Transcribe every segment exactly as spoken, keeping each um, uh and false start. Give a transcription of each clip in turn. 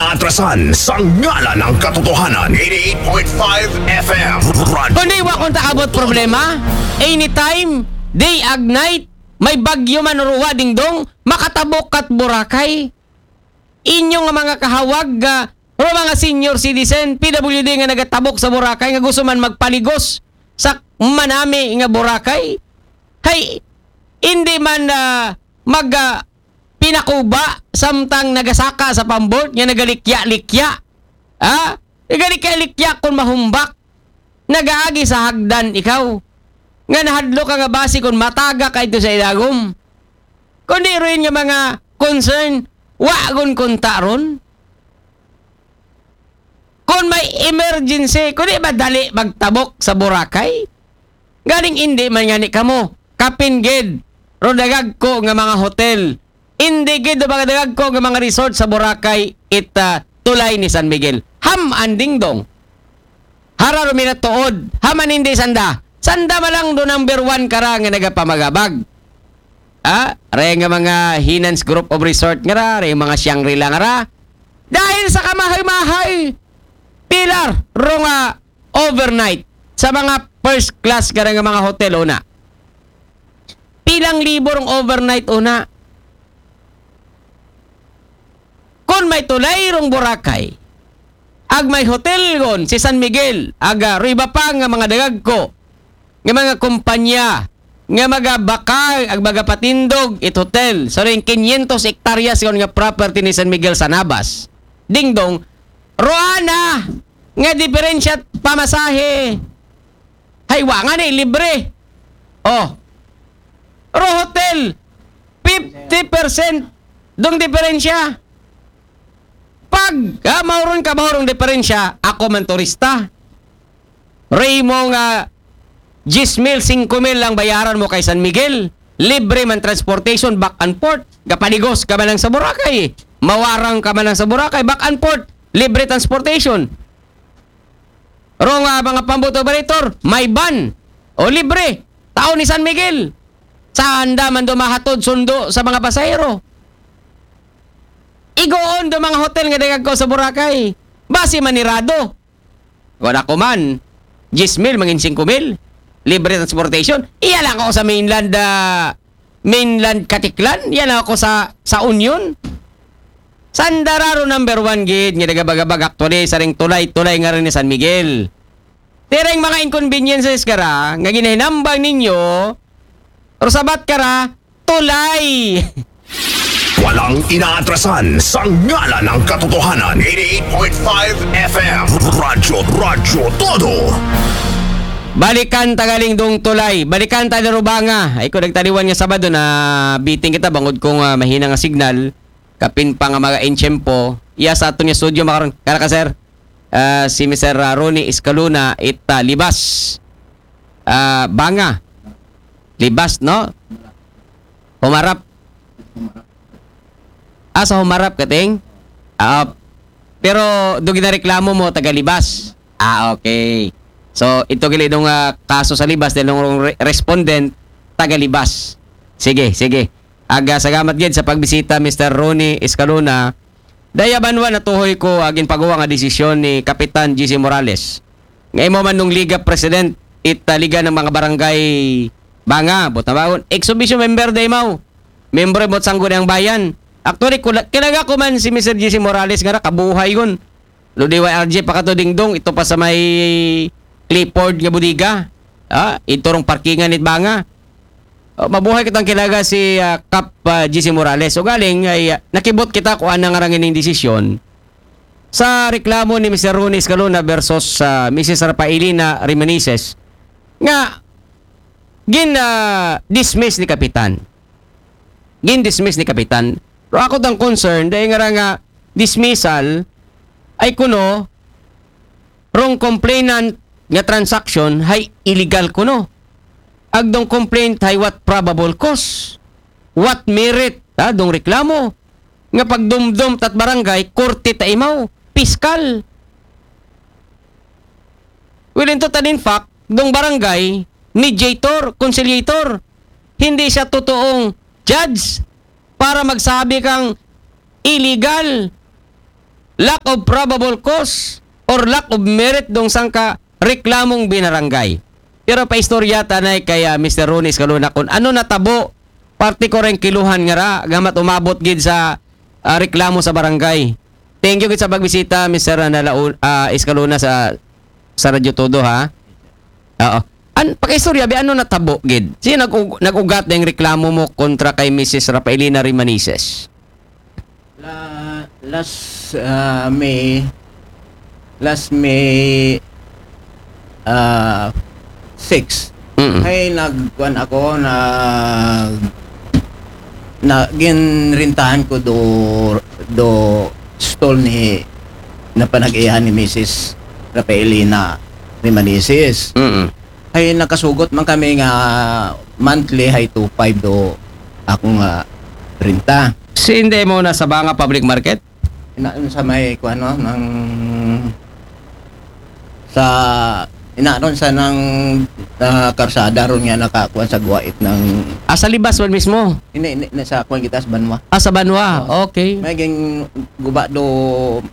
Atrasan sa ngalan ng katotohanan. Eighty-eight point five F M. Radyo. Kundi wa kung taabot problema, anytime, day ag night, may bagyo man o ruwa, Dingdong, makatabok kat Boracay. Inyo nga mga kahawag, ah, o mga senior citizen, P W D nga nagatabok sa Boracay nga gusto man magpaligos sa manami nga Boracay. Hay, hindi man, ah, mag, ah, pinakuba samtang nagasaka sa pambot nga nagalikya-likya. Ha? Nagalikya-likya kung mahumbak. Nagaagi sa hagdan ikaw. Nga nahadlo ka nga basi kung mataga ka ito sa ilagom. Kundi rin nga mga concern, wa gun kunta ron. Kung may emergency, kundi madali magtabok sa Boracay. Galing hindi man nga ni kamo. Kapin gid, ro dagag ko nga mga hotel. Hindi gid, ro mga dagag ko nga mga resort sa Boracay, it ah, tulay ni San Miguel. Ham ang Dingdong. Hara ro minatuod. Ham ang hindi sanda. Sanda malang do number one kara nga nagapamagabag. Ah, ray nga mga Hinans Group of Resort nga ra, ray mga Shangri-La nga ra. Dahil sa kamahay-mahay, pilar, ro nga overnight, sa mga first class nga ra nga mga hotel, una. Pilang libo rong overnight, una. Kung may tulay rong Boracay, ag may hotel gon si San Miguel, aga, ro iba pa nga mga dagag ko, nga mga kumpanya, nga magabakal, ag magapatindog, it hotel. So, rin quinientos hektaryas gon nga property ni San Miguel sa Nabas. Dingdong, roana, nga diferensya pamasahe. Hay, wa nga ni, libre. Oh. Ro hotel, fifty percent dong diferensya. Pag, ah, mauron ka, mauron diferensya, ako man turista. Ray mo nga, diyes mil, singko mil lang bayaran mo kay San Miguel. Libre man transportation, back and forth. Kapaligos ka man lang sa Boracay. Mawarang ka man lang sa Boracay, back and forth. Libre transportation. Ro nga mga pambot operator, may van. O libre. Tao ni San Miguel. Sanda man do mahatod sundo sa mga pasahero. Igoon do mga hotel nga dagag ko sa Boracay. Basi manirado. Wala ko man. Diyes mil, mangin singko mil. Libre transportation. Iya lang ako sa mainland, ah, mainland Katiklan. Iya lang ako sa, sa Union. Sanda ra ro number one gid nga nagabagabag actually sa ring tulay-tulay nga rin ni San Miguel. Tireng mga inconveniences kara nga ginahinambang ninyo, ro sabat kara, tulay. Walang inaatrasan sa ngalan ng katotohanan. Eighty-eight point five F M. Radyo, Radyo Todo. Balikan tagaling dong tulay. Balikan ta ni Rubanga. Ay ko nagtaliwan nga Sabado na biting kita bangod kong ah, mahina nga signal. Kapin pa nga mga inchempo. Iya sa aton nga studio makaron. Kara ka, sir? Ah, si Mister Ronnie Escalona it ah, Libas. Ah, Banga. Libas, no? Humarap. Ah, sa Humarap, kating? Ah, pero do ginareklamo mo, taga Libas. Ah, okay. So, ito gili dong ah, kaso sa Libas, dahil nung re- respondent, taga Libas. Sige, sige. Aga, salamat gid sa pagbisita, Mister Ronnie Escalona. Daya banwa natuhoy ko agin pagawa nga desisyon ni Kapitan G C Morales. Nga imo man nung Liga President, it ah, Liga ng mga Barangay Banga, Botabagon, ex officio member day mau. Member mo Sangguniang Bayan. Actually, kula- kilaga ko man si Mister G C Morales nga ra, kabuhay gun. Lo D Y R G pa kato Dingdong, ito pa sa may Clifford nga bodega. Ah, ito rong parkingan it Banga. Oh, mabuhay kitang kilaga si ah, Kap ah, G C Morales. So galing ay ah, nakibot kita kung anang rangining desisyon sa reklamo ni Mister Ronnie Escalona versus ah, Missus Rafaelina Remenises nga gin ah, dismiss ni Kapitan. Gin dismiss ni Kapitan. Pero ako tang concern, dahil nga ra nga dismissal, ay kuno, rong complainant nga transaction, hay illegal kuno. Agdong complaint, hay what probable cause? What merit? Ha, dong reklamo. Nga pagdumdum tat barangay, korte ta imaw, piskal. Well, in total, in fact, dong barangay, mediator, conciliator. Hindi siya totoong judge para magsabi kang illegal. lack of probable cause or lack of merit dong sangka reklamong binarangay. Pero paistorya tanay kay ah, Mister Ronnie Escalona kung ano natabo, parte ko rin kiluhan nga ra, gamat umabot gid sa ah, reklamo sa barangay. Thank you gid sa pagbisita, Mister Nalaun, ah, Escalona sa sa Radyo Todo, ha? Oo. An, pakiistorya, bi, ano natabo gid? Sino nag-, nag-ugat na yung reklamo mo kontra kay Missus Rafaelina Rimanises? La, last ah, May, last May ah, six, Mm. ay nagkuan ako na na ginrintahan ko do do stall ni na panag-iyahan ni Missus Rafaelina Rimanises. Mm. Ay nakasugot man kami nga monthly hay two five do ako nga renta. Si hindi mo na sa Banga Public Market? Ina sa may kuan no ng sa ina ron sa nang ah, karsada ron nga nakakuan sa guwait ng Ah, sa Libas man mismo? ini, ini na sa kuan kita sa Banwa. Ah, sa Banwa. Okay. May ging guba do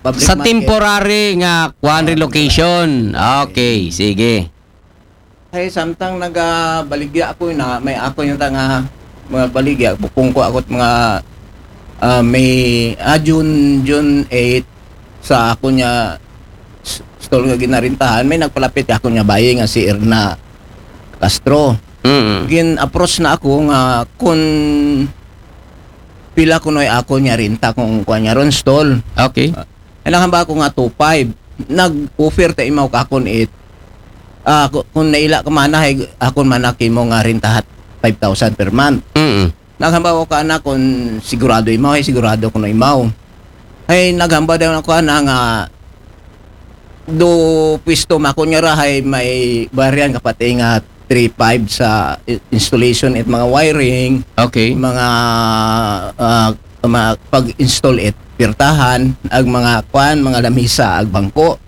public Sa market. Temporary nga kuan Ah, relocation. Okay, sige. Ay samtang nagabaligya ako na may ako yung tanga mga baligya bukong ko ako mga ah, may ah, June June eight sa ako niya s- stall nga ginarintahan may nagpalapit ako niya bayi nga si Erna Castro. Mm. Gin-approach na ako nga kung pila kunoy ako niya rinta kung kuan niya ron stall. Okay. Ay nahamba ako nga two five. Nag-offer ta imaw ka akon it ah, ku- kung naila ka mana hay akon mana kimo nga rintahat five thousand per month. Mm. Naghamba ko ka na kung sigurado imaw, hay sigurado kuno imaw. Hay naghamba daw ako na nga do pwisto makon nga ra hay may baryan kapati nga three five sa i- installation at mga wiring, Okay. mga ah, mga pag-install at pirtahan, ag mga kwan, mga lamisa, ag bangko.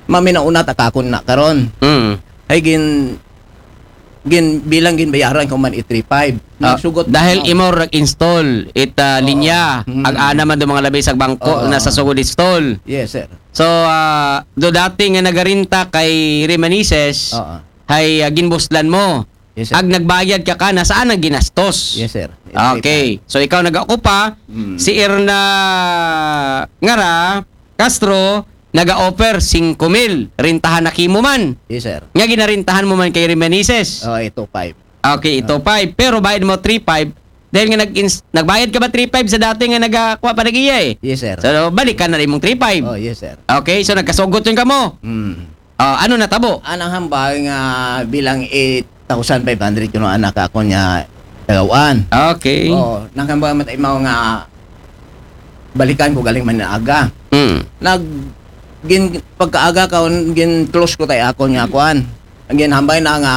Maminauna ta kakon na karon. Mm. Ay gin gin bilang ginbayaran ko man i three five. Ah, Nagsugot dahil na- imo nag-install it ah, Oo. linya, Mm. ag ana man do mga labi sa bangko Oo. na sa sugod install. Yes, sir. So, ah, do dati nga nagarinta kay Rimanises, Oo. hay ah, ginbuslan mo. Yes, sir. Ag nagbayad ka ka na saan ang ginastos? Yes, sir. Okay. So ikaw nag-ocupa, Mm. si Erna Ngara Castro naga-offer singko mil, rintahan na kimo man. Yes, sir. Nga ginarintahan mo man kay Rimanises. Oh, ito five. Okay, ito five. Pero bayad mo three five. Dahil nga nag nagbayad ka ba three five sa dati nga nagakuha pa nag-iya eh? Yes, sir. So, balikan na rin mong three five. Oh, yes, sir. Okay, so nagkasugot yun ka mo. Mm. Ah, ano natabo? Anang hambal nga bilang eight thousand five hundred kuno anak ako niya tagawan. Okay. Oh, nang hambal matay mao nga balikan ko galing man aga. Mm. Nag gin pagkaaga ka gin close ko tay ako niya kuan. Ang ginhambay na nga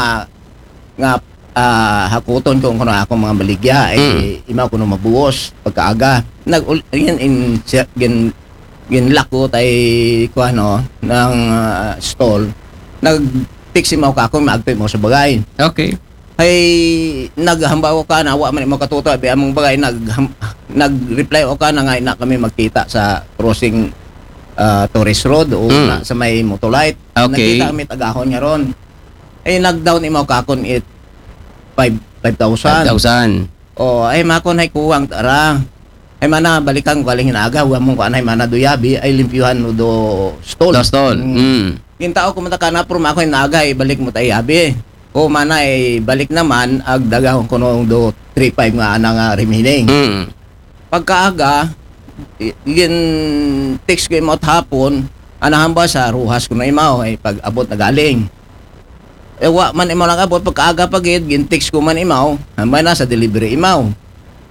nga ah, hakuton ko kuno ako mga baligya eh Mm. imaw kuno mabuos pagkaaga. Nag gin in gin ginlock ko tay kuan no ng ah, stall. Nag text imaw ka ako maagtoy mo sa bagay. Okay. Ay naghamba ko ka na wa man mo katuto abi among bagay nag nag-reply o ka na nga na kami magkita sa crossing ah, Torres Road o Mm. na, sa may Motolite. Okay. Nagkita kami tagahon nga ron. Ay nag-down imaw kakon it five five thousand. Five thousand. Oh, ay makon hay kuwang tara. Ay mana balikan ko galing hinaga wa mong kuan ay mana duyabi ay limpyuhan no do stall. Do stall. Mm. Mm. Gintao ko mata kana pero mako hinaga ay balik mo tay abi. O mana ay balik naman ag dagahon ko no do three five nga ana nga remaining. Mm. Pagkaaga i- gin text ko imot hapon anahan ba sa ruhas ko na imaw ay pag abot na galing. E wa man imaw nag-abot pagkaaga pa gid gin text ko man imaw hambay na sa delivery imaw.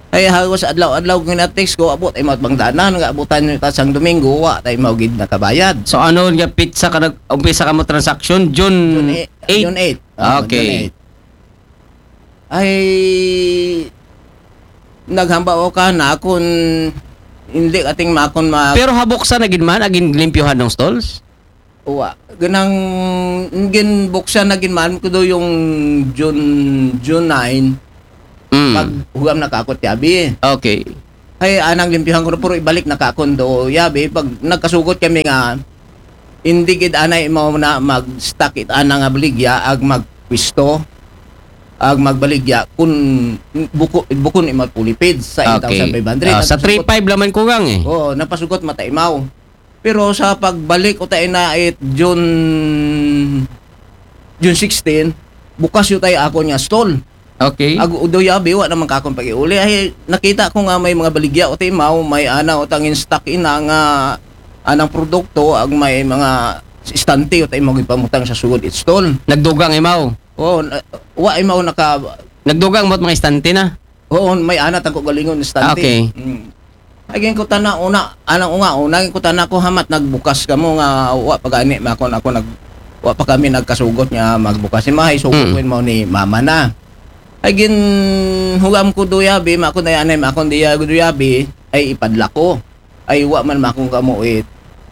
Ay hagos adlaw-adlaw gina-text ko abot imaw bang danan nga abutan nyo ta sang Domingo wa ta imaw gid nakabayad. So ano nga pizza ka nag-umpisa ka mo transaction? June June eight. eight? June eight. Oh, Okay. June eight. Ay naghamba o ka na akon hindi ating makon ma Pero habok sa nagin man agin limpyuhan ng stalls? Uwa. Ganang gin buksan na gin man ko do yung June June nine Mm. pag hugam na kakot yabi. Okay. Ay, anang limpyuhan ko na, pero ibalik na ka akon do yabi. Pag nagkasugot kami nga, hindi gid anay mao na mag-stock it ana nga baligya, ag magpwisto, ag magbaligya, kun buko, bukon imat pulipid sa Okay. eight thousand five hundred. Ah, sa Nagpasugot- three five laman kugang eh. Oo, napasugot mata imaw. Pero sa pagbalik ko tayo na it June, June sixteen, bukas yun tayo ako niya stall. Okay. Ag udoy abi, wa naman kakong pag-iuli. Ay, nakita ko nga may mga baligya o timaw, may ana o tangin stock ina nga anang produkto, ag may mga istante o tayo magipamutang sa sugod it stall. Nagdugang imaw. Oh, na- wa imaw naka Nagdugang mo't mga istante na. Oo, may ana tangko galingon istante. Okay. Mm. Ay, ginkutana una, anang unga, una, ginkutana ko hamat, nagbukas ka mo nga, wa pa gani, makon ako, nag, wa pa kami nagkasugot nga magbukas. Si Mahay, sugot Mm. ko mo ni mama na. Ay, gin, hugam ko duyabi, makon na yan, makon diya duyabi, ay ipadla ko. Ay, wa man makon kamo it,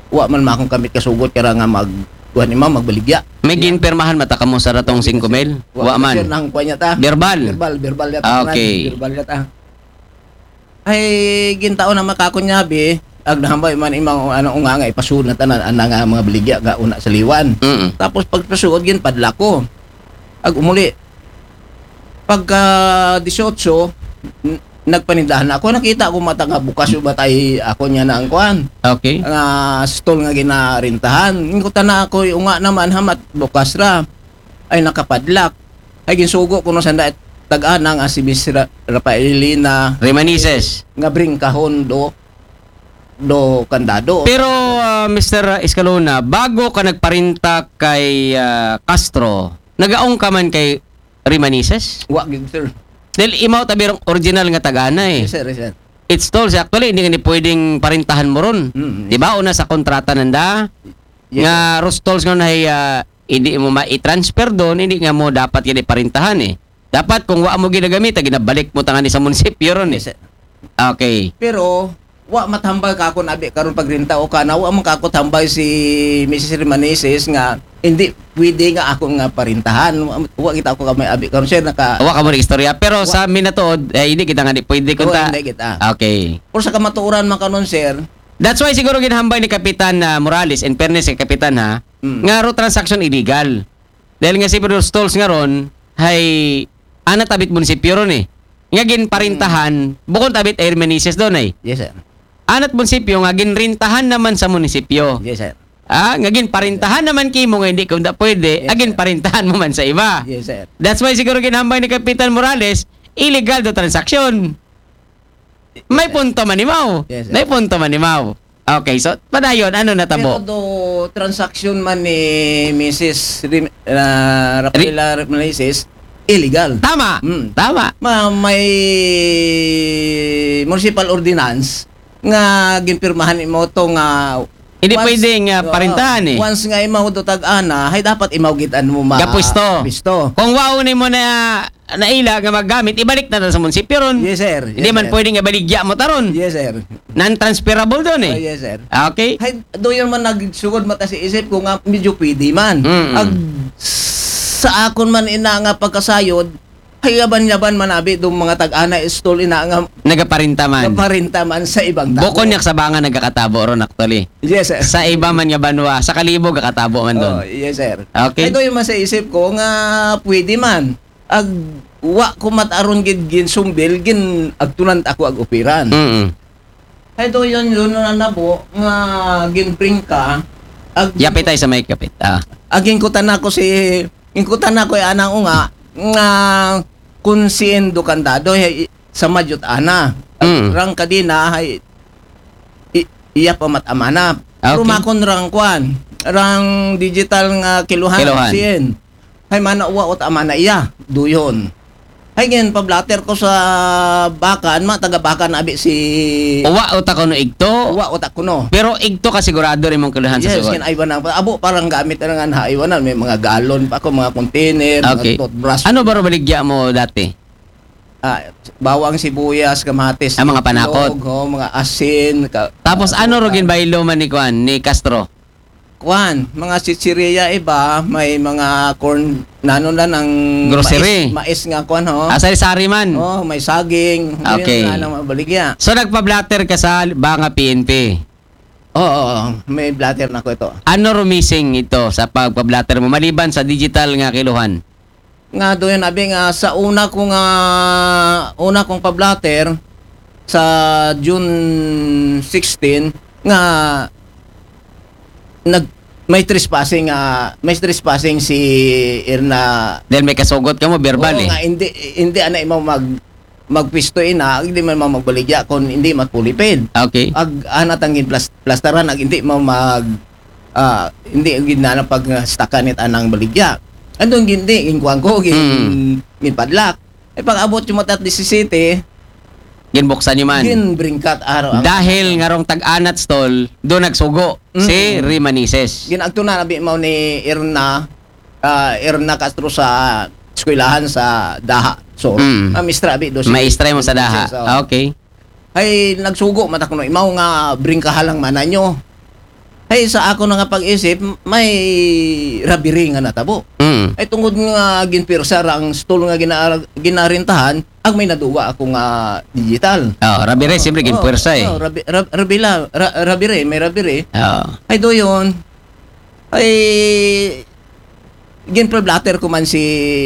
wa man makon kamit kasugot, kara nga mag, kuha ni mama, magbaligya. May ginpirmahan mata kamo sa ratong singko mil? Wa man. Sir, nang kuha niya ta. Verbal. Verbal, verbal yata. Ah, okay. Verbal yata. Ay, gintao na makakon niya, bi. Ag nahambay man imang ano, unga nga ipasunod na tanan, ana nga mga baligya nga una sa liwan. Mm. Tapos pagpasuod, ginpadla ko. Ag umuli. Pagka dieciocho, n- nagpanindahan ako. Nakita ko mata nga bukas yung batay ako niya na ang kuan. Okay. Nga stall nga ginarintahan. Ingutan na ako, yung nga naman, hamat bukas ra. Ay, nakapadlak. Ay, ginsugo ko no sanda, tag-ana nga si Miss Ra- Rafaelina Remanises. nga bringkahon do, do kandado. Pero, ah, Mister Escalona, bago ka nagparinta kay ah, Castro, nagaong ka man kay Remanises? Wa gid, sir. Dahil imaw tabirong original nga tagana eh. Yes, sir, yes, sir. It's tolls, actually, hindi nga ni pwedeng parintahan mo ron. Mm. Di ba? Una sa kontrata nanda, Yes, nga rostals nga na, ah, hindi mo ma-transfer doon, hindi nga mo dapat yan iparintahan eh. Dapat kung wa mo ginagamit, ginabalik mo tangan sa munisipyo ron eh. Yes, sir. Okay. Pero, wa matambal ka ako nabi karon pagrinta o kana, wa man ka ako tambay si Missus Remanises nga hindi pwede nga ako nga parintahan. Wa, wa kita ako kamay abi karon, sir, naka Wa ka mo istorya. Pero sa minatuod, eh, hindi kita nga di pwede Oo, kunta. hindi kita. Okay. Pero sa kamatuoran man kanon, sir, That's why siguro ginhambay ni Kapitan ah, Morales, in fairness kay Kapitan ha, Mm. nga ro transaction illegal. Dahil nga si Pedro Stolz nga ron, hay anat abit munisipyo ron eh. Nga ginparintahan, bukon abit ay Remanises doon eh. yes, sir. Anat munisipyo nga ginrintahan naman sa munisipyo. Yes, sir. Ah, nga ginparintahan naman kimo nga hindi ko na pwede, Yes, ah, sir. ginparintahan mo man sa iba. Yes, sir. That's why siguro ginhambay ni Kapitan Morales, illegal do transaction. May punto man imaw. Yes, sir. May punto man imaw. Okay, so padayon, ano Pero natabo? Do transaction man ni Missus Rim, uh, Rafaela Remanises, illegal. Tama. Mm. Tama. Ma, may municipal ordinance nga ginpirmahan mo to nga Hindi once- pwede nga Oo, parintahan eh. Once nga imaw do tag-ana, hay dapat imaw gitan mo ma Gapwisto. Pwisto. Kung waon mo na naila nga magamit, ibalik na ta sa munisipyo ron. Yes, sir. Hindi Yes, man sir. pwede nga baligya mo taron. Yes, sir. Non-transferable doon eh. Oh, yes, sir. Okay? Hay, do yun man nagsugod mata sa isip ko nga medyo pwede man. Mm-mm. Ag, sa akon man ina nga pagkasayod, hay yaban-yaban man abi do mga tag-ana stall ina nga Nagaparinta man. Kaparinta man sa ibang tao. Bukon niya sa banga nagkakatabo ron actually. Yes, sir. Sa iba man nga banwa, sa Kalibo kakatabo man doon. Oh, yes, sir. Okay. Ito yung man sa isip ko nga pwede man. Ag wa ko mataron gid gin sumbil, gin agtunan ako ag operan. Mm. Ito yun, yun na nabo nga gin bring ka. Ag, Yapit tayo sa may kapit. Ah. Ag inkutan ako si, inkutan ako yung anang unga nga kung sien do kandado, eh, sa majut ana. Mm. Rang kadina, hay, i, iya pa matamana. Okay. Rumakon rang kwan, rang digital nga kiluhan, Kiluhan. sien. Hay mana uwa ot amana iya, duyon. Hay ngayon, pablater ko sa Bakan, ma taga Bakan abi si Uwa o ta kuno igto. Uwa ot ako no. Pero igto ka sigurado rin mong kiluhan sa Yes, sugot. Kin Ivan ang abo parang gamit na nga ha Ivan, may mga galon pa ako, mga container, Okay. mga toothbrush. Ano ba ro baligya mo dati? Ah, bawang sibuyas, kamatis, Ah, mga panakot. itlog, oh, mga asin. Ka, Tapos ano ro ginbaylo man ni Kwan, ni Castro? kwan, mga chichirya iba, may mga corn, nano na ng Grocery. Mais, mais nga kwan, ho. Ah, sari-sari man. Oh, may saging. Okay. Yun na lang mabaligya. So, nagpa-blotter ka sa banga P N P. Oo, oo, may blotter na ko ito. Ano rumising ito sa pagpa-blotter mo maliban sa digital nga kiluhan? Nga doon abi nga sa una ko nga una kong pa-blotter sa June sixteen nga nag may trespassing nga may trespassing si Erna. Dahil may kasugot ka mo, verbal Oo eh. Nga, hindi hindi ana mo mag magpisto ina, hindi man mo magbaligya kung hindi matpulipin. Okay. Ag ana tang gin plas- plastaran ag hindi mo mag ah, hindi gid na pag stakanit anang baligya. Andun gindi, gin kuwan ko, gin, Mm. gin padlock. Eh, pag abot yung matat disisete, Ginbuksan niyo man. Gin bringkat araw ang Dahil nga rong tag-anat stall, doon nagsugo si Mm. Rimanises. Ginagto na nabi mo ni Erna, ah, Erna Castro sa eskwelahan sa Daha. So, Mm. Mamistra abi do si Maestra mo sa Daha. So, Ah, okay. Ay, nagsugo mata kuno imaw nga bringkahalang mana nyo. Ay, sa ako na nga pag-isip, may rabiri nga natabo. Mm. Ay, tungod nga ginpirsa ra ang stall nga gina- ginarintahan, ang may naduga ako nga digital. Oh, rabire, siyempre, Oh, ginpwersa eh. Oh, rabi, rab, rabila, ra, rabire, may rabire. Oh. Ay, doyon. Ay, ginpablatter ko man si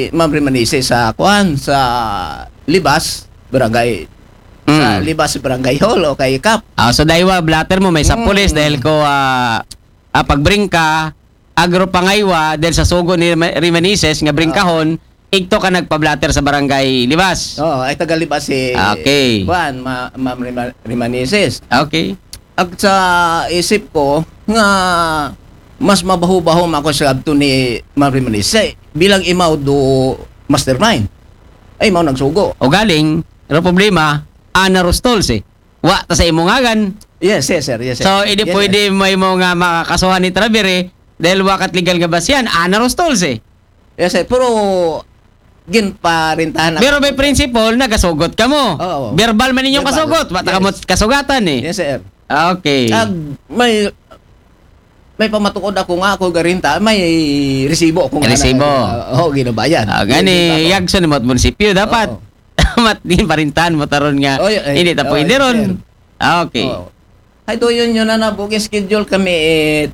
Ma'am Rimanise sa kuan, sa Libas, barangay. Sa Mm. Libas Barangay Hall o kay Kap. Ah, so dahil wa blatter mo may sa Mm. pulis dahil ko ah, ah, pagbringka agro pangaywa dahil sa sugo ni Rima- Rimanises nga bringkahon igto ka nagpablatter sa barangay Libas. Oo, ay taga Libas si Okay. Kuan, ma, Ma'am Rima, Rimanises. Okay. Ag sa isip ko nga mas mabaho-baho man ako sa abto ni Ma'am Rimanises bilang imaw do mastermind. Ay, imaw nagsugo. O galing, pero problema, ana rostols eh. Wa ta sa imo ngagan. Yes, yes, sir. Yes, sir. So, hindi Yes, pwede mo imo nga makakasuhan ni Travere dahil wa kat legal nga basyan, ana rostols eh. Yes, sir. Pero ginparintahan ako. Pero may principle, nagasugot ka mo. Oo. Verbal man inyong Verbal. kasugot, wa ta ka mo Yes. kasugatan eh. Yes, sir. Ah, okay. Ag may may pamatukod ako nga ako garinta, may resibo ako nga Resibo. Oo, ginabayad. Ah, gani, Ginabayad ako. Yagson mo at munisipyo, dapat. Oo. Mat din parintahan mo taron nga Oh, yeah, eh, hindi ta oh, pwede yes, ron. sir. Ah, okay. Oo. Ay, doon yun, yun na na. Booking schedule kami eh.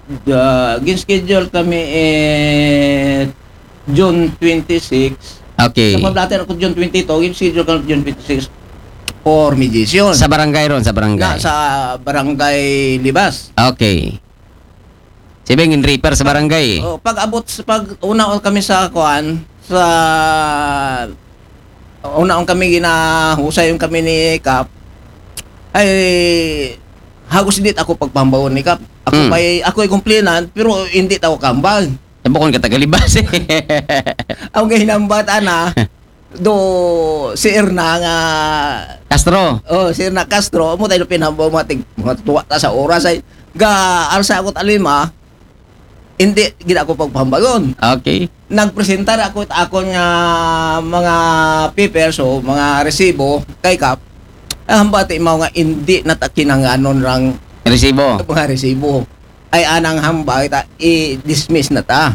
The, gin-schedule kami eh June twenty-six. Okay. Sa pablatter ako June twenty-two, gin-schedule kami June twenty-six for mediation. Sa barangay ron, sa barangay. Na, sa barangay Libas. Okay. Sibing in repair sa barangay. Oh, pag abot sa pag una kami sa kuan, sa una kami ginahusay yung kami ni Kap, ay hagos hindi ako pagpambaon ni Kap. Ako Hmm. pa'y, ako ay complainant, pero hindi ako kambal. Eh, bukon ka tagalibas eh. Ang gahinambat ana do si Erna nga Castro. Oh, si Erna Castro, mo tayo pinambaw mga tig mga tuwa ta sa oras ay ga arsa ako talima. Hindi gid ako pagpambagon. Okay. Nagpresentar ako ako nga mga papers o mga resibo kay Kap. Ang hambati mao nga hindi na ta kinanganon rang Resibo. Mga resibo. Ay anang hambay ta i-dismiss na ta.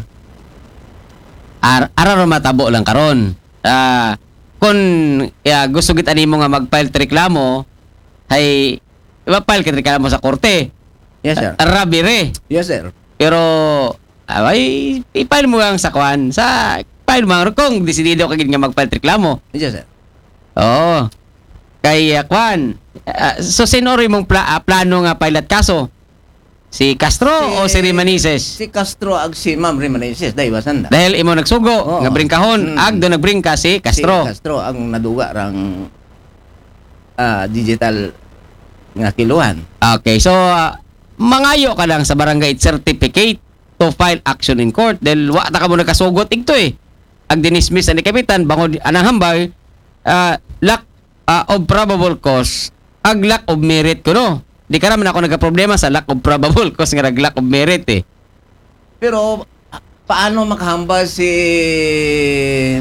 Ar ara ro matabo lang karon. Ah, kung ya, gusto gid animo nga mag-file ta reklamo, hay ma-file ka reklamo sa korte. Yes, sir. Rabire. Yes, sir. Pero ay i-file mo lang sa kwan, sa file mo lang kung desidido ka gid nga mag-file reklamo. Yes, sir. Oo. Kay ah, kwan, ah, so sino rin mong pla- ah, plano nga pilot kaso? Si Castro o si Rimanises? Si Castro ag si Ma'am Rimanises, dahil basan na. Dahil imo nagsugo Oo. nga bringkahon, Mm. ag do nagbringka si Castro. Si Castro ang naduga rang ah, digital nga kiluhan. Okay, so ah, mangayo ka lang sa barangay certificate to file action in court dahil wa ta ka mo nagkasugot igto eh. Ag dinismiss ani kapitan bangod anang hambay ah, lack ah, of probable cause ag lack of merit kuno. Di ka naman ako nagkaproblema sa lack of probable cause nga nag lack of merit eh. Pero ah, paano makahambal si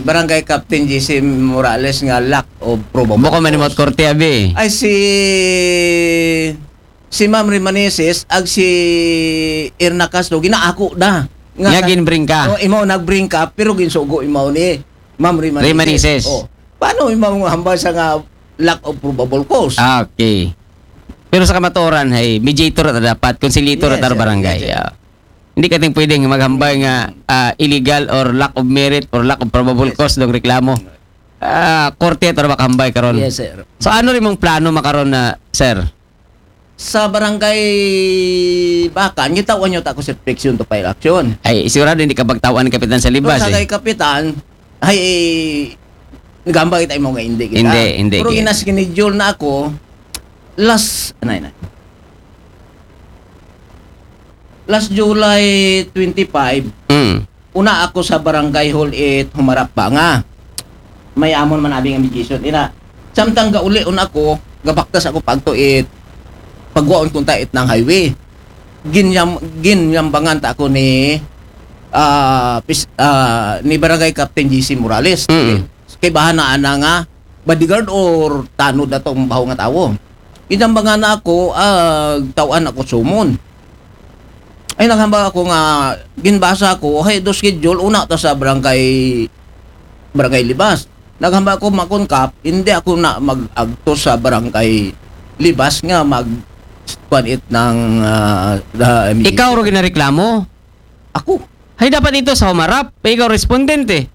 Barangay Captain J C Morales nga lack of probable cause? Bukon man himo korte, abi. Ay, si, si Ma'am Rimaneses ag si Erna Castro, ginaako na. Nga ginbring ka? Oh, imaw nagbring ka, pero ginsugo imaw ni Ma'am Rimaneses. Rimaneses. Oh. Paano imaw nga hambal sa nga lack of probable cause? Ah, okay. Pero sa kamatuoran, hay, mediator ta dapat, conciliator ta barangay. Yes, sir. Ah. Hindi ka ting pwedeng maghambay nga, ah, illegal or lack of merit or lack of probable cause dong reklamo. Ah, korte ta ra makahambay karon. Yes, sir. So, ano rin mong plano makaron na, sir? Sa barangay Bacan, gitawan niyo ta ako sa protection to file action. Ay, sigurado hindi ka pagtawan ng kapitan sa libas, eh. Sa kay kapitan, ay, nagambag kita mo nga hindi kita. Hindi, hindi. Pero ginaschedule na ako, last, ano yun? Last July twenty-five, mm, una ako sa barangay hall it humarap ba nga. May amon man abi nga mediation. Ina, samtang gauli un ako, gabaktas ako pagto it pagwaon kunta it ng highway. Ginyam-, ginyambangan ta ako ni, ah, pis-, ah, ni Barangay Captain J C Morales. Mm. Kay bahana ana nga bodyguard or tanod na tong baho nga tawo. Ginyambangan na ako, ah, tawan ako sumon. Ay, naghambal ako nga, ginbasa ko, hay, do schedule, una ta sa barangay, barangay Libas. Naghambal ako, makon kap, hindi ako na mag-agto sa barangay Libas nga mag, kuan it ng, ah, ah, Ikaw ro ginareklamo? Ako. Hay, dapat ito sa humarap. Ikaw respondent, eh.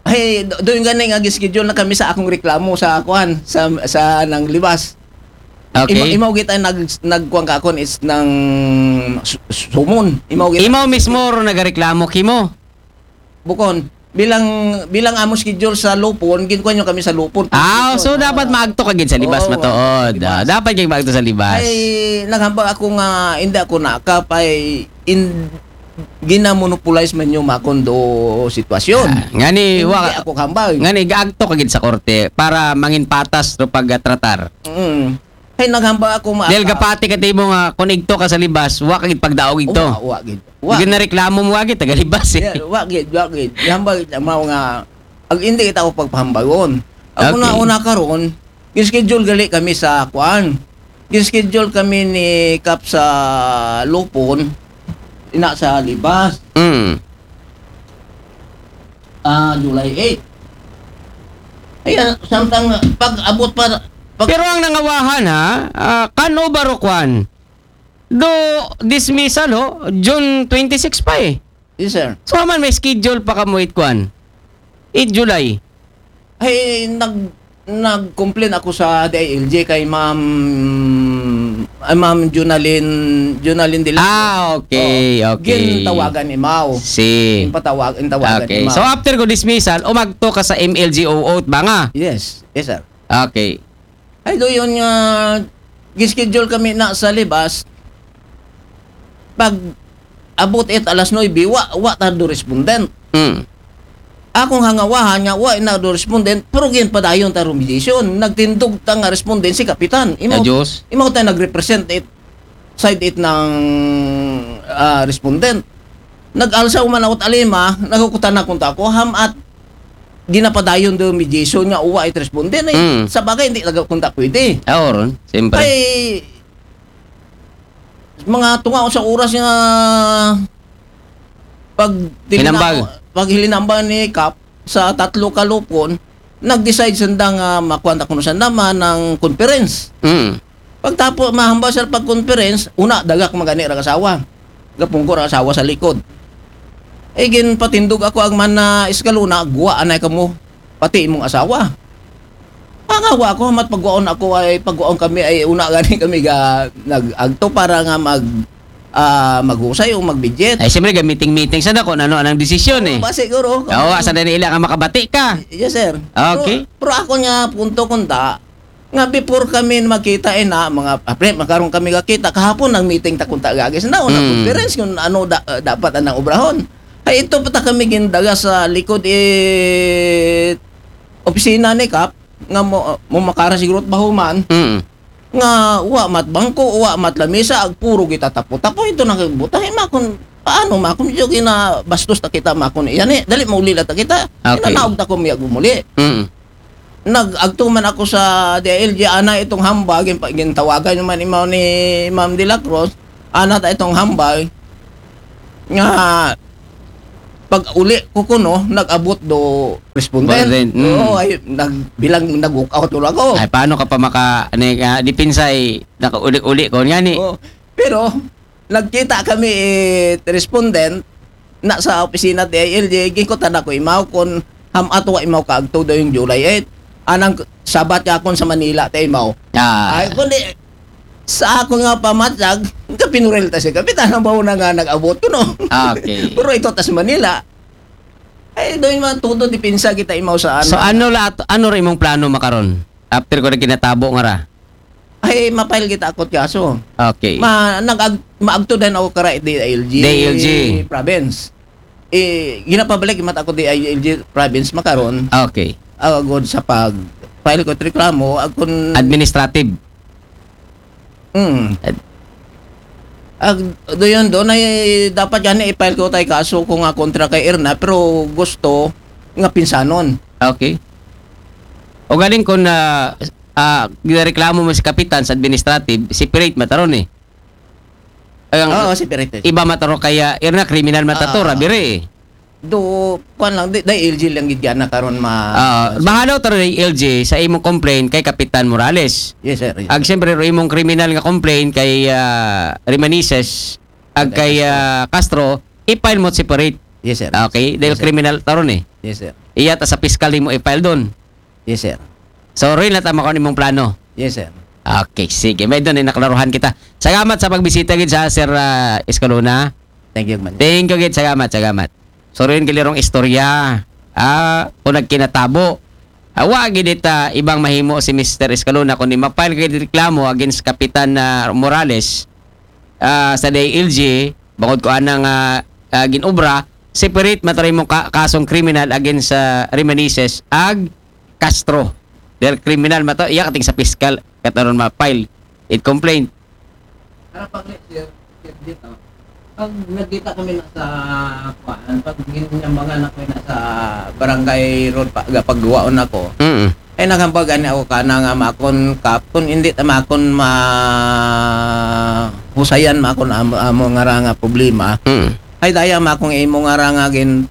Ay, do-, doon gani nga gi-schedule na kami sa akong reklamo sa kuan, sa, sa nang Libas. Okay. Ima-, imaw kita nag-, nagkuan ka akon is nang su-, sumon. Imaw kita. Imaw mismo ro nagareklamo kimo? Bukon. Bilang, bilang amo schedule sa Lupon, ginkuan nyo kami sa Lupon. Ah, so dapat maagto ka gid sa Libas, oo, matuod. Libas. Ah, dapat kay maagto sa Libas. Ay, naghambal ako nga, hindi ako nakap, ay, in, ginamonopolize man yung makondo sitwasyon. Ah, ngani, hindi wa-, ako hambal. Ngani, gaagto ka gid sa korte para mangin patas ro pagtratar. Mm. Hay, naghambal ako ma- Dahil gapati ka timo nga, kung igto ka sa Libas, wa ka gid pagdaog igto. Wa, wa gid. Wa. Gid na reklamo mo, wa gid, taga Libas, eh. Yeah, wa gid, wa gid. Hambal, mao nga, ag hindi kita ako pagpahambagon. Ako na, okay, una karon, Gin-schedule gali kami sa kuan. Gin-schedule kami ni Kap sa Lupon, ina sa Libas. Mm. Ah, July eight. Ayan, samtang pag-abot pa, pag- Pero ang nangawahan, ha, ah, kano ba ro kuan? Do dismissal, ho, June twenty-six pa, eh. Yes, sir. So, man, may schedule pa ka mo it kuan? Eight July. Ay, nag-, nag-complain ako sa D I L G kay Ma'am, ay, Ma'am Junalyn, Junalyn Dela. Ah, okay, oo, okay. Gintawagan ni Mao. Si. Ginpatawag-, gintawagan ni Mao. Okay. So, after ko dismissal, umagto ka sa M L G O O ba nga? Yes. Yes, sir. Okay. Ay, do yun nga, gischedule kami na sa Libas. Pag abot it alas nuebe, wa, wa ta do respondent. Mm. Akong hangawahan nga, wa na do respondent, pero ginpadayon ta ro mediation. Nagtindog ta nga respondent si Kapitan. Imaw, ah, Diyos. Imaw tayo nag-represent it, side it ng, ah, respondent. Nag-alsa man ako talima, nagkukutan na kunta ko, ham at ginapadayon do mediation nga uwa it respondent, eh. Mm. Sa bagay, hindi talaga kunta pwede. Ah, oo, ron. Siyempre. Ay, mga tunga sa oras nga pag Hinambal. Pag hilinambal ni Kap sa tatlo ka Lupon, nag-decide sanda nga makuha ta kuno sanda man ng conference. Mm. Pagtapo, mahambal sa pag-conference, una, dagak magani ra asawa. Gapungko ra asawa sa likod. Eh, ginpatindog ako ang man na eskalona, guwa anay kamo, pati imong asawa. Pangawa ako, mat pagwaon ako ay, pagwaon kami ay, una gani kami ga, nag-agto para nga mag, ah, maghusay o magbidget. Ay, siyempre, ga meeting-meeting sa dako, ano, anong desisyon, eh. Oo, ba, siguro. Oo, sa dali lang ang makabati ka. Yes, sir. Okay. Pero, pero ako nga punto kunta, nga before kami magkita, eh, na, mga, apre, magkaroon kami kakita, kahapon nag-meeting ta kunta gagis na, o Mm. nag-conference kung ano da-, dapat anang obrahon. Ay, ito pa ta kami gindaga sa likod, eh, opisina ni Kap, nga mo, mo makara siguro bahuman, Mm. nga wa mat bangko, wa mat lamisa, ag puro gitatapo-tapo, ito na kay buta, eh, makon, Paano, ma? Kung medyo ginabastos ta kita, ma, kung yan eh. Dali, mauli lang ta kita. Okay. Ginanaog ta ko, miyag umuli. Mm. Nag-agto man ako sa D I L G, ana itong hambal, gin-, gintawagan naman imaw ni Ma'am De La Cruz, ana ta itong hambal, nga pag uli ko kuno, nag-abot do respondent. Respondent, mm. Oo, ay, nagbilang, nag-walk out ulo ako. Ay, paano ka pa maka, ano, uh, depensa ay nakauli-uli ko nga ni? Oo. Pero, nagkita kami, eh, respondent, na sa opisina D I L G, gikutan ako imaw kung ham ato imaw kaagto do yung July eight. Anang sabat ka akon sa Manila, te imaw. Ah, Ay, kundi, sa ako nga pamatyag, kapinuril ta si Kapitan, ang baho na nga nag-abot ko, no? Okay. Pero ito tas Manila. Ay, doon man todo, depensa kita imaw sa ano. So ano la, ano ra imong plano makaron? After ko na kinatabo nga ra. Ay, ma-file kita akot kaso. Okay. Ma, nag maagto din ako kara D I L G, D I L G. Province. Eh, ginapabalik mat ako D I L G province makaron. Okay. Agod sa pag file ko reklamo, akon Administrative. Mm. Ad- Ag, doon doon ay dapat gani i-file ko tay kaso ko nga kontra kay Erna, pero gusto nga pinsanon. Okay. O galing kung na ah, ginareklamo mo si Kapitan sa administrative, separate mataron eh. Ang Oo, separate. Iba mataro kaya Erna, criminal matato, Ah. Rabire eh. Do, kuan lang, di, D I L G lang gid yan na karon ma... Ah, bahalaw taro ng L G sa imong complaint kay Kapitan Morales. Yes, sir. Yes, Ag sir. siyempre, ro imong criminal nga complaint kay ah, Remanises, ag kay ah, Castro, i-file mo separate. Yes, sir. Okay? Dahil Yes, sir. Criminal taro ni. Yes, sir. Iya ta sa piskal mo i-file doon. Yes, sir. So, rin na tama ko imong plano. Yes, sir. Okay, sige. May doon, naklaruhan kita. Salamat sa pagbisita gid sa Sir ah, Escalona. Thank you, man. Thank you gid, salamat, salamat. So, rin kilirong istorya. Ah, kung nagkinatabo. Awa gid ita ibang mahimo si Mister Escalona kung di ma-file gid reklamo against Kapitan ah, Morales ah, sa D I L G, bangod ko anang ah, ah, ginobra, separate matari mong ka- kasong criminal against sa Remanises ag Castro. Dahil criminal mato, iya kating sa piskal kataron ma-file it complaint. Para pag next year, year dito, pag nagkita kami na sa kuan, pag ginyambangan ako na sa barangay road pa, pagguwaon ako, Mm. ay naghambagan ako ka na nga makon kap, kung hindi ta makon ma husayan makon amo, amo nga ra nga problema. Mm. Ay daya makong imo nga ra nga gin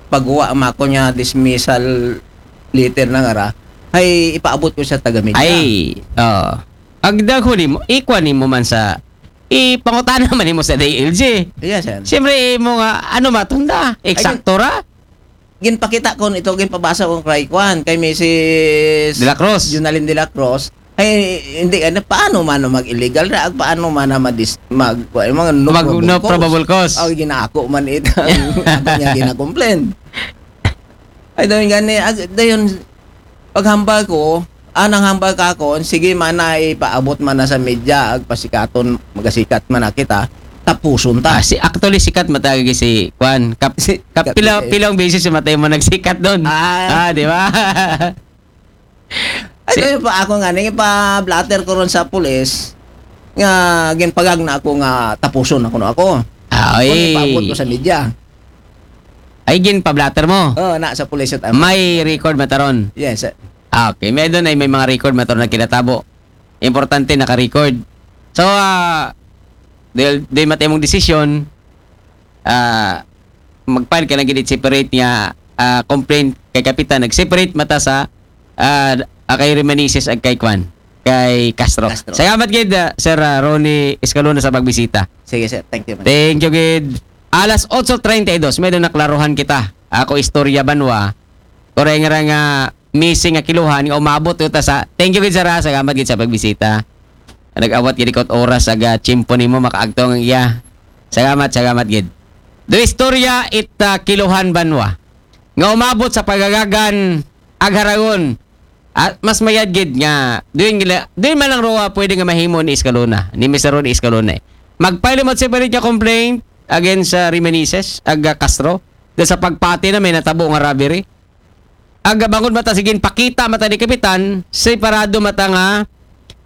pagguwa makon niya dismissal letter na nga ra. Ay ipaabot ko sa taga media. Ay, oh. Agdag huli mo, ikuan nimo man sa ipangutana man nimo sa D I L G. Yes, sir. Siyempre, imo nga, ano matunda? Eksakto ra? Ginpakita ko nito, ginpabasa ko kay kuan, kay Missus De La Cruz. Junalyn De La Cruz. Ay, hindi, ano, paano man na mag-illegal na, ag paano man na madis, mag, kuan, mga no, Mag- probable no cause. probable cause. Ay, ginako man ito. Ako niya ginakomplain. Ay, dayon gani, ag, dayon, paghambal ko, anang hambal ka ako, sige man na ipaabot man na sa media, ag pasikaton, magasikat man na kita, tapuson ta. Ah, si actually sikat matagi si Kwan. Kap, Si- kap, pila, Kap- pilang beses si matay mo nagsikat doon. Ah. Ah, di ba? Ay, dayon pa ako nga, nang ipa-blotter ko ron sa pulis, nga ginpagag na ako nga tapuson ako na ako. Ay. Kung ipaabot ko sa media. Ay, gin pa-blotter mo. Oh, na sa pulis at May record mataron. Yes, sir. Ah, okay. May doon ay may mga record mataron na kinatabo. Importante naka-record. So, ah, dahil, dahil matay mong desisyon, ah, mag-file ka lang gid separate nga ah, complaint kay Kapitan. Nag-separate mata sa ah, ah, kay Remanises ag kay Kwan, kay Castro. Castro. Salamat gid, ah, Sir ah, Ronnie Escalona sa pagbisita. Sige, sir. Thank you, man. Thank you gid. Alas otso treinta y dos, may doon naklaruhan kita. Ako istorya banwa. Koreng ra nga missing nga kiluhan nga umabot ito sa... Thank you gid, sir, ha. Salamat gid sa pagbisita. Nag-awat gid ikot oras aga tiyempo nimo makaagtong ang iya. Salamat, salamat gid. Do istorya it ah, kiluhan banwa nga umabot sa pagagagan ag haragon. At mas mayad gid nga doon gila, doon man lang roa pwede nga mahimo ni Escalona, ni Mister Ronnie Escalona. Eh. Mag-file mo separate nga complaint against sa Remanises ag ah, Castro. Dahil sa pagpati na may natabo nga robbery. Aga bangod mata sige pakita mata ni Kapitan, separado mata nga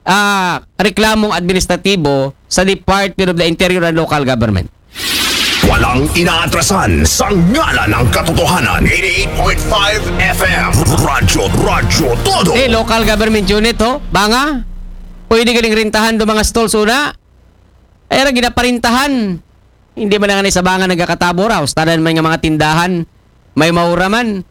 ah, reklamong administratibo sa Department of the Interior and Local Government. Walang inaatrasan sa ngalan ng katotohanan. Eighty-eight point five F M. Radyo, Radyo Todo. Eh, local government unit, ho? Banga? Pwede galing rintahan do mga stalls una? Ay, ra ginaparintahan. Hindi man nga ni sa Banga nagkakatabo ra. Ustanan man nga mga tindahan. May maura man.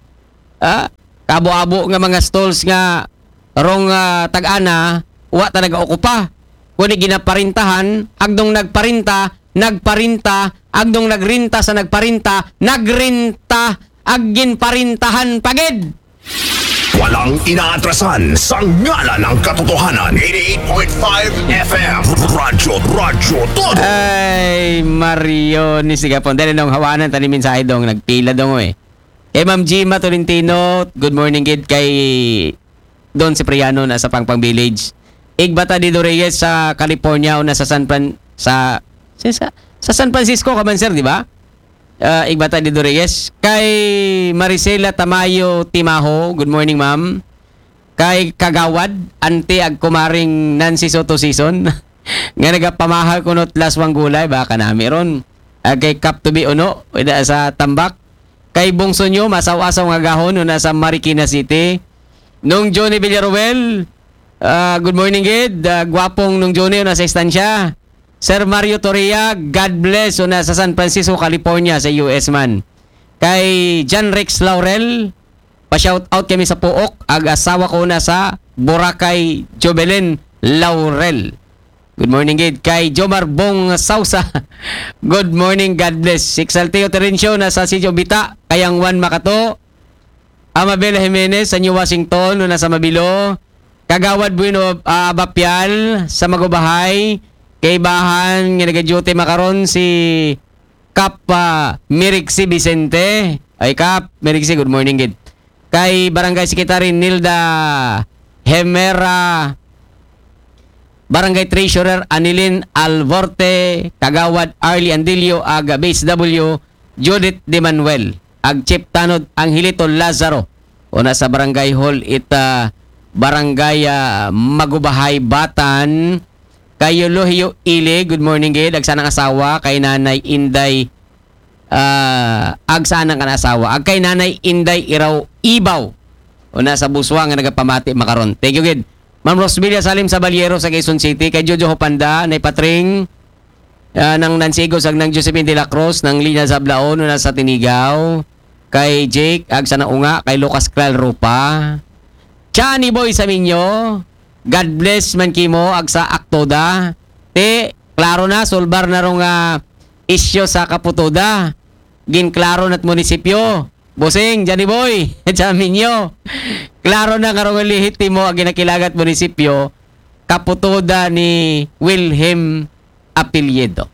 Ah, kabo-abo nga mga stalls nga rong ah, tag-ana, wa ta nag-okupa. Kuni ginaparintahan, agdong nagparinta, nagparinta, agdong nagrinta sa nagparinta, nagrinta, agin parintahan pagid. Walang inaatrasan sa ngalan ng katotohanan. Eighty-eight point five F M. Radyo, Radyo Todo. Ay, Mario, ni Sigapon. Dali nung hawanan, tani mensahe dong, nagpila dong, eh. Kay Ma'am Gima Tolentino, good morning, gid kay Don Cipriano na sa Pangpang Village. Igbata di Reyes sa California o na sa San Fran sa sa, sa, sa San Francisco ka man, sir, di ba? Ah, Igbata di Reyes. Kay Maricela Tamayo Timaho, good morning, ma'am. Kay Kagawad, Ante ag Kumaring Nancy Soto Season. Nga nagapamahal kuno laswang gulay, baka nami ron. Ag kay Kap Tubi Uno, wala sa Tambak. Kay Bungso nyo, masaw-asaw nga gahon, una sa Marikina City. Nung Johnny Villaruel, ah, good morning, gid. Ah, gwapong Nung Johnny, una sa Estancia. Sir Mario Torria, God bless, una sa San Francisco, California, sa U S man. Kay John Rex Laurel, pa-shout out kami sa Puok, ag asawa ko na sa Boracay, Jobelin Laurel. Good morning, gid. Kay Jomar Bong Sausa. Good morning, God bless. Exalteo Terencio na sa Sitio Bita, Kayang Juan Makato. Amabela Jimenez sa New Washington, una sa Mabilo. Kagawad Bueno, ah, Abapial sa Magubahay. Kay bahan nga nag-duty makaron si Kap ah, Mirixi Vicente. Ay, Kap Mirixi, good morning, gid. Kay Barangay Secretary Nilda Hemera, Barangay Treasurer Anilin Alvorte, Kagawad Arlie Andillo, ag B S W Judith De Manuel, ag Chief Tanod Angelito Lazaro. Una sa Barangay Hall ita Barangay ah, Magubahay Batan. Kay Eulogio Ile, good morning, gid. Ag sanang asawa, kay Nanay Inday ah, ag sanang kan asawa. Ag kay Nanay Inday Iraw Ibaw. Una sa Buswa nga nagapamati makaron. Thank you, gid. Ma'am Rosvilla Salim Saballero sa Quezon City. Kay Jojo Hopanda, Nay Patring, ah, nang Nancy Igos, ag nang Josephine de la Cruz, nang Lina Sablaon, una sa Tinigaw. Kay Jake, ag sana unga, kay Lucas Kral Rupa. Johnny Boy sa Minyo, God bless man kimo, ag sa Aktoda. Te, klaro na, solbar na rong ah, isyo sa Kaputoda. Ginklaro na't munisipyo. Bosing, Johnny Boy, sa Minyo. Klaro na karong lihitimo ag ginakilagat munisipyo, Kaputoda ni Wilhelm Apelyido.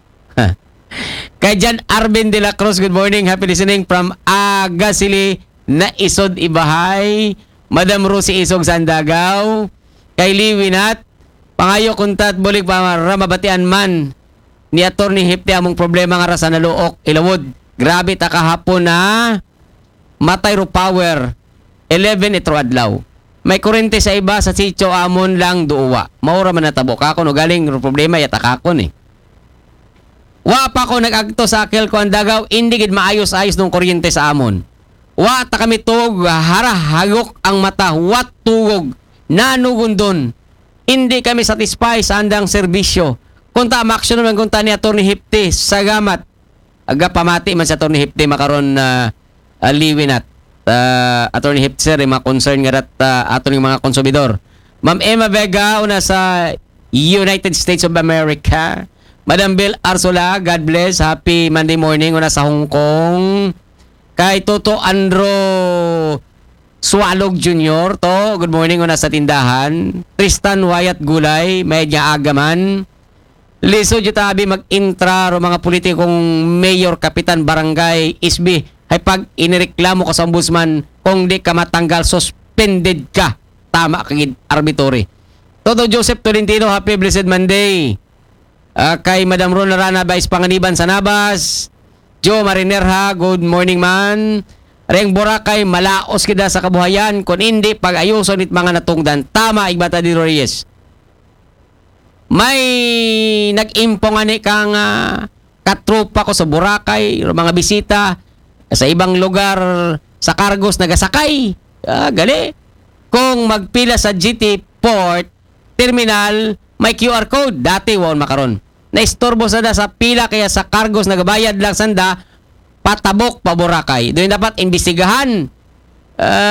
Kay Jan Arvin de la Cruz, good morning. Happy listening from Agasili, Naisod, Ibahay. Madam Rosie Isog, Sandagaw. Kay Liwinat, pangayo kuntat bulig para mabatian man ni Attorney Hipti among problema nga ra sa Naluok, Ilawod. Grabe ta kahapon na matay ro power. Eleven itro adlaw. May kurente sa iba sa sitio amon lang duwa. Maura man natabo kakon o galing ro problema yata kakon eh. Wa pa ko nag-agto sa Akel ko ang dagaw, hindi gid maayos-ayos nung kuryente sa amon. Wa ta kami tug harahagok ang mata, wa tugog, nanugundon. Hindi kami satisfy sa andang serbisyo. Kunta maaksyon naman kunta ni Attorney Hipti, sagamat. Aga pamati man sa Attorney Hipti makaron na uh, liwinat. Uh, Attorney Hipti, sir, yung mga concern nga rat uh, aton yung mga konsumidor. Ma'am Emma Vega, una sa United States of America. Madam Bill Arsola, God bless. Happy Monday morning. Una sa Hong Kong. Kay Toto Andro Sualog Junior to, good morning, una sa tindahan. Tristan Wyatt Gulay, may niya agaman. Lisod yu tabi mag-intra ro mga politikong mayor, kapitan, barangay, S B. Hay pag inireklamo ka sa ombudsman, kung di ka matanggal, suspended ka. Tama ka gid, arbitrary. Toto Joseph Tolentino, happy blessed Monday. Ah, kay Madam Ron Rana, Vice Panganiban sa Nabas. Joe Marinerha, good morning man. Reng Boracay, malaos kita sa kabuhayan. Kung hindi, pag-ayuson it mga natungdan. Tama, Igbata di Reyes. May nag-impo nga ni kang ah, katropa ko sa Boracay, mga bisita sa ibang lugar, sa cargos nagasakay. Ah, gali. Kung magpila sa G T Port Terminal, may Q R code. Dati, waon makaron. Naistorbo sa da sa pila kaya sa cargos nagabayad lang sanda, patabok pa Boracay. Doon dapat imbestigahan. Ah,